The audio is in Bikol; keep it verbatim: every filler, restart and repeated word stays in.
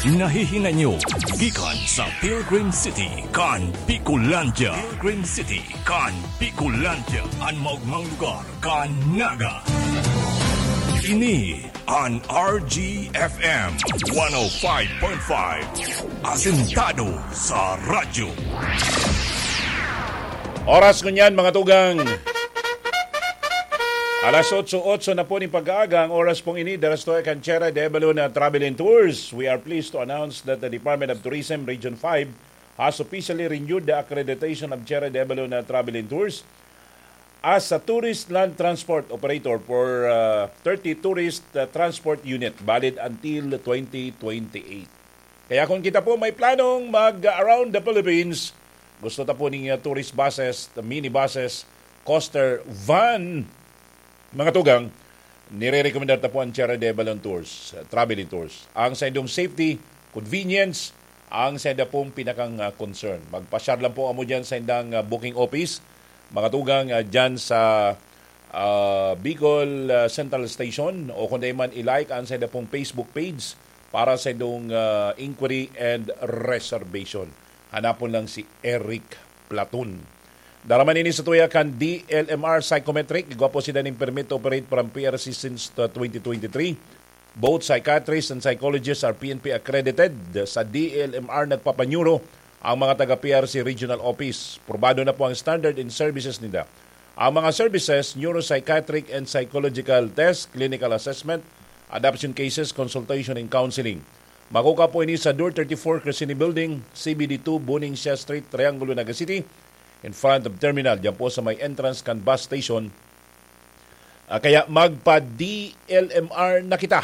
Nahihinay nyo gikan sa Pilgrim City kan Bicolandia. Pilgrim City kan Bicolandia, an maogmang lugar kan Naga. Ini an R G F M one oh five point five, asentado sa radyo. Oras ngunyan, mga tugang. Alas otso, otso na po nin pag-aaga ang oras pong ini. Dara sa tuya kan Sierra de Avalon na Travel and Tours. We are pleased to announce that the Department of Tourism Region five has officially renewed the accreditation of Sierra de Avalon na Travel and Tours as a tourist land transport operator for uh, thirty tourist uh, transport unit valid until twenty twenty-eight. Kaya kung kita po may planong mag-around the Philippines, gusto ta po ning uh, tourist buses, minibuses, coaster van, mga tugang, nire-recommendar ta po ang Sierra de Avalon Tours, uh, Traveling Tours. Ang saindong safety, convenience, ang sainda pong pinakang uh, concern. Magpasyar lang po amo dyan sa indang uh, booking office, mga tugang, uh, dyan sa uh, Bicol uh, Central Station o kung di man i-like ang sainda pong Facebook page para sa indong uh, inquiry and reservation. Hanapon lang si Eric Platon. Dara man ini sa tuya kan D L M R Psychometric. Igwa po sinda nin permit to operate from P R C since uh, twenty twenty-three. Both psychiatrists and psychologists are P N P accredited. Sa D L M R nagpapanyuro ang mga taga P R C Regional Office. Probado na po ang standard and services ninda. Ang mga services, neuropsychiatric and psychological test, clinical assessment, adoption cases, consultation and counseling. Makukuha po ini sa Door thirty-four, Crescini Building, C B D two, Buning Siya Street, Triangulo, Naga City, in front of terminal. Diyan po sa may entrance kan bus station. Ah, kaya magpa-D L M R na kita.